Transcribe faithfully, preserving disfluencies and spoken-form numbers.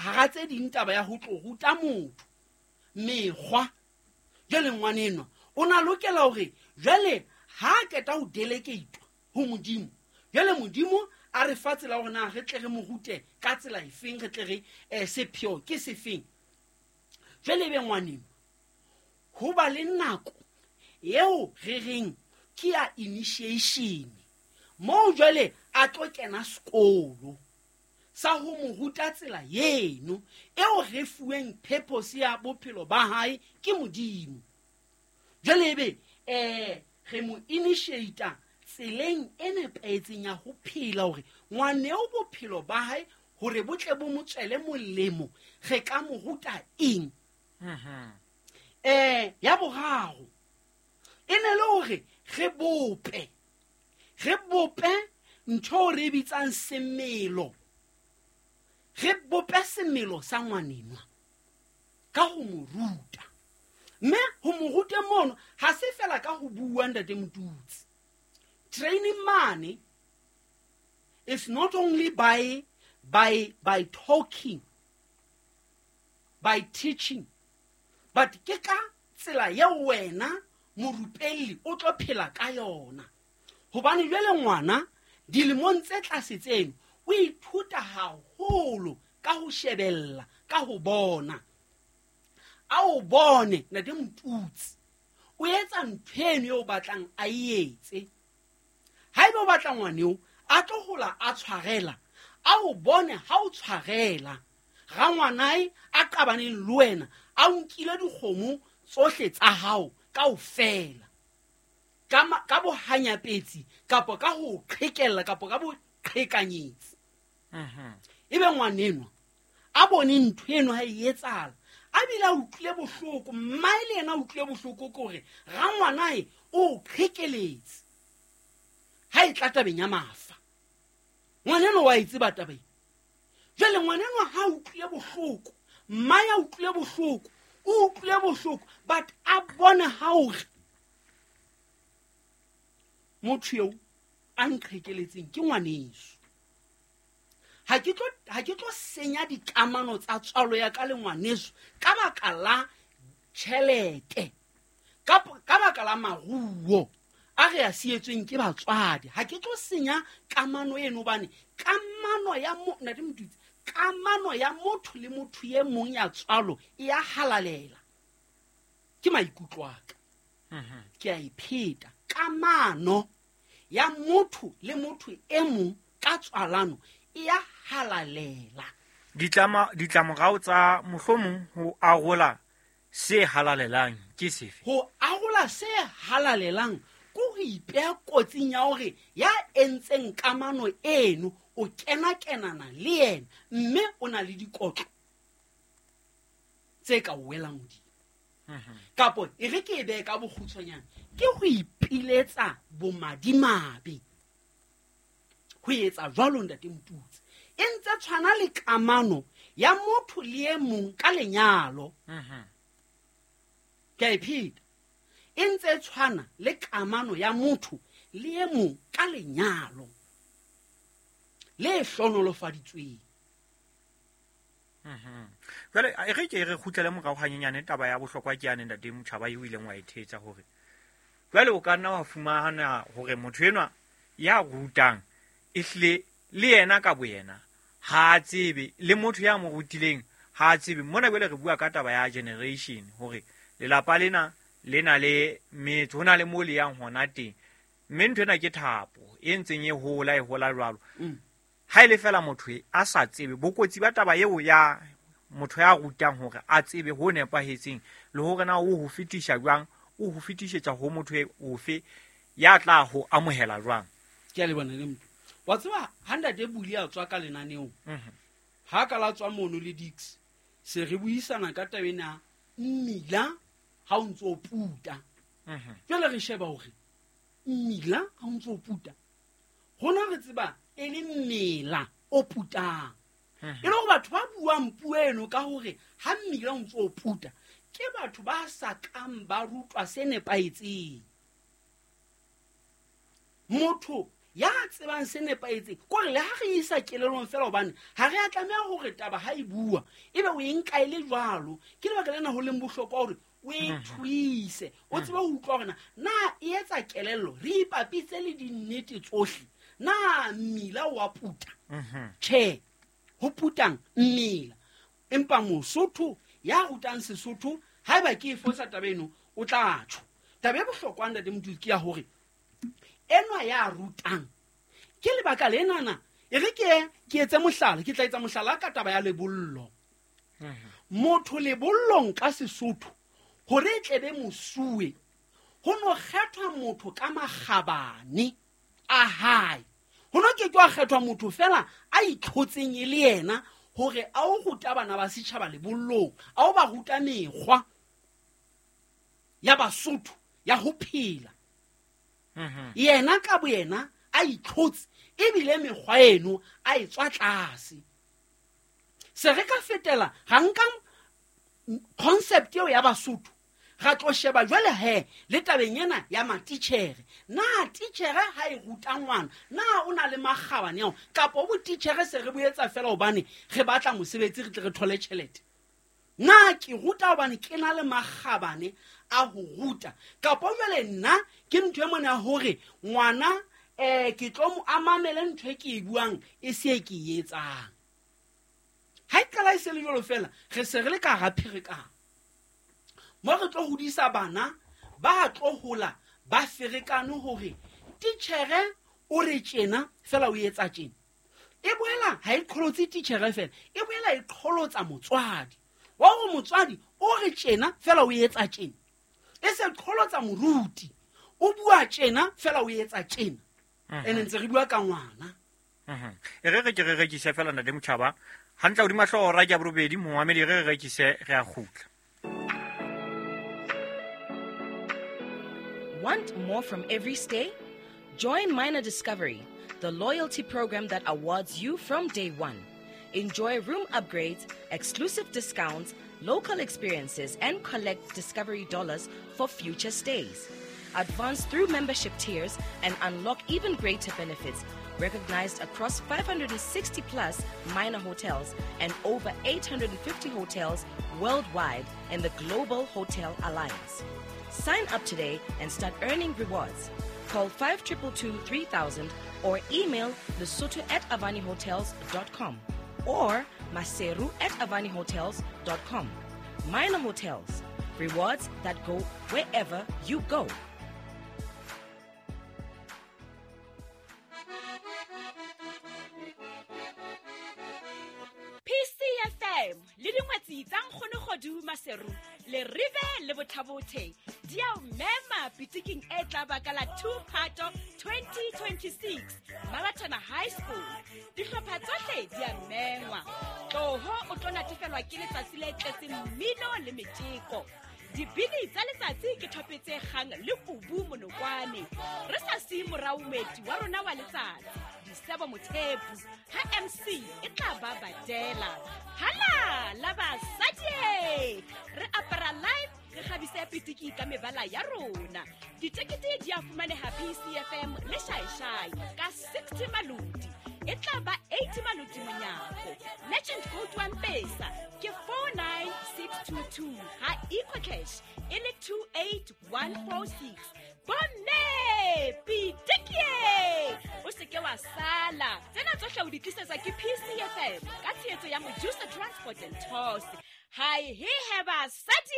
hara tse ding taba ya ho tlo ruta motho mekgwa. Jwale ngwanenwa o na lokela hore jwale ha a qeta ho delegatwa ho Modimo, jwale Modimo a re fa tsela hore na re tle re mo rute ka tsela efeng, re tle re eh, sepheo ke sefeng. Jwale ebe ngwanenwa ho ba le nako eo re reng ke ya initiation, moo jwale a tlo kena sekolo sa ho mo ruta tsela eno eo re fuweng purpose ya bophelo ba hae ke Modimo. Jwale ebe eh re mo initiate tseleng e nepahetseng ya ho phela, hore ngwaneo bophelo ba hae hore bo tle bo mo tswele molemo, re ka mo ruta eng. Eh ya boraro e ne le hore re bope re bope ntho re bitsang semelo, re bope semelo sa ngwanenwa ka ho mo ruta. Mme ho mo rute mono ha se fela ka ho bua, ntate Motutsi. Training money is not only by, by, by talking, by teaching, but ke ka tsela eo wena morupelli o tlo phela ka yona. Hobane jwale ngwana dilemong tse tlase tseno o ithuta haholo ka ho shebella, ka ho bona. A o bone ntate Motutsi o etsa ntho eno eo o batlang a e etse. Haeba o batla ngwaneo a tlo hola a tshwarela, a o bone ha o tshwarela rangwanae a qabaneng le wena, a o nkile dikgomo tsohle tsa hao kaofela ka ka bohanyapetsi kapa ka ho qhekella kapa ka boqhekanyetsi. Ebe ngwanenwa a bone ntho eno ha e etsahala, a bile a utlwile bohloko, mmae le yena a utlwile bohloko ke hore rangwanae o qhekeletse ha e tla tabeng ya mafa. Ngwanenwa wa e tseba taba ena. Jwale ngwanenwa ha a utlwile bohloko, mmae a utlwile bohloko, o utlwile bohloko, but a bone ha hore motho eo a nqhekeletseng ke ngwaneso. Ha ke tlo, ha ke tlo senya dikamano tsa tswalo ya ka le ngwaneso ka baka la tjhelete, ka, ka baka la maruo a re a sietsweng ke batswadi. Ha ke tlo senya kamano eno, hobane kamano ya mo-, ntate Motutsi, kamano ya motho le motho e mong ya tswalo e ya halalela. Ke maikutlo a ka. Ke a e pheta. Kamano ya motho le motho e mong ka tswalano e ya halalela. Ditlama, ditlamorao tsa mohlomong ho arola se halalelang ke sefe? Ho arola se halalelang ke ho ipeha kotsing ya hore ya entseng kamano eno o kena-kenana le yena, mme o na le dikotlo tse ka o welang hodimo. Kapo e re ke e behe ka bokgutshwanyane, ke ho ipiletsa bomadimabe ho etsa jwalo, ntate Motutsi. E ntse tshwana le kamano ya motho le e mong ka lenyalo. Ke a e pheta. E ntse tshwana le kamano ya motho le e mong ka lenyalo le hlohonolofaditsweng. Jwale e re ke re kgutlele morao hanyenyane, taba ya bohlokwa ke yane ntate Motjhaba eo o ileng wa e thetsa, hore jwale o ka nna wa fumana hore motho enwa ya rutang ehlile le yena ka boyena ha a tsebe, le motho ya mo rutileng ha a tsebe. Mona jwale re bua ka taba ya generation, hore lelapa lena le na le metso, ho na le moo le yang hona teng, mme ntho ena ke thapo e ntseng e hola, e hola jwalo. Mm. Ha e le fela motho e a sa tsebe bokotsi ba taba eo ya motho ya rutang hore a tsebe ho nepahetseng le hore na o ho fetisha jwang, o ho fetisetsa ho motho e ofe ya tla ho amohela jwang. Ke a lebana le motho. Wa tseba ha ntate Buli a tswa ka lenaneong, Mhm. ha ka la tswa mono le Dix, se re buisana ka taba ena mmila ha o ntso o puta. Mhm. Jwale re sheba hore mmila ha o ntso o puta, rona re tseba e le mmela o putang. Mhm. E le hore batho ba buang puo eno ka hore ha mmila o ntso o puta, ke batho ba sa kang ba rutwa se nepahetseng. Motho Ya tsebang se nepahetseng kore le ha re isa kelellong fela hobane ha re a tlameha hore taba ha e bua ebe o e nka e le jwalo. Ke lebaka lena ho leng bohlokwa hore o e thuise, o tsebe ho utlwa hore na na e etsa kelello, re ipapitse le dinnete tsohle. Na mmila wa puta? Tjhe, ho putang mmila. Empa Mosotho ya rutang Sesotho haeba ke e fosa taba eno o tla tjho. Taba e bohlokwa ntate Motuli ke ya hore enwa ya rutang ke lebaka lenana e re ke ke etse mohlala, ke tla etsa mohlala ka taba ya lebollo. Motho lebollong ka Sesotho hore e tlebe mosuwe ho no kgethwa motho ka makgabane a hae. Ho no ke ke wa kgethwa motho fela a itlhotseng e le yena hore a o ruta bana ba setjhaba lebollong, a o ba ruta mekgwa ya Basotho ya ho phela. Yena ka boyena a itlhotse ebile mekgwa eno a e tswa tlase. Se re ka fetela ga nka concept eo ya Basotho ra tlo sheba jwale he le tabeng ena ya matitjhere. Na titjhere ha e ruta ngwana na o na le makgabane ao kapa bo titjhere se re boetsa fela hobane re batla mosebetsi re tle re thole tjhelete? Na ke ruta hobane ke na le makgabane a ho ruta kapa jwale nna ke ntho e mona hore ngwana eh ke tlo mo amamele ntho e ke e buang e se ke e etsang. Ha e qala e se le jwalo fela re se re le ka hara pherekano. Mo re tlo hodisa bana ba tlo hola ba ferekane hore titjhere o re tjena fela o etsa tjena. E boela ha e qholotse titjhere fela, e boela e qholotsa motswadi. Wa hore motswadi o re tjena fela o etsa tjena. E se qholotsa moruti, o bua tjena fela o etsa tjena. Ene ntse re bua ka ngwana. E re re ke re rekise fela ntate Motjhaba. Hantle hodima hlooho ra ke borobedi momamedi re re rekise re a kgutla. Want more from every stay? Join Minor Discovery, the loyalty program that awards you from day one. Enjoy room upgrades, exclusive discounts, local experiences, and collect Discovery dollars for future stays. Advance through membership tiers and unlock even greater benefits, recognized across five hundred sixty plus minor hotels and over eight hundred fifty hotels worldwide in the Global Hotel Alliance. Sign up today and start earning rewards. Call five two two two three thousand or email lesotho at avani hotels dot com or maseru at avani hotels dot com. Minor Hotels, rewards that go wherever you go. P C F M le dingwetsi tsa nkgono Kgodu Maseru le rive le bothabothe di a o mema pitiking e tla baka la two Phato twenty twenty-six Mabatana High School. Dihlopha tsohle di a mengwa. Tloho o tlo natefelwa ke letsatsi le tletseng mmino le metjeko. Dibini tsa letsatsi ke thopetse kgang le kubu monokwane. Re sa siye morao moeti wa rona wa letsatsi, Disebo Mothepu, ha M C e tla ba badela. Hala la basadi! Re apara live, re kgabise pitiki ka mebala ya rona. Ditekete di a fumaneha P C F M le Shaishai ka sixty malodi. E tla ba eighty malodi monyako. Merchant code wa M-Pesa ke four nine six two two ha EcoCash e le two eight one four six. Bomme pitiki! O se ke wa sala. Tsena tsohle o di tlisetsa ke P C F M ka tshehetso ya Mojusa Transport and Tours. Hi he he basadi!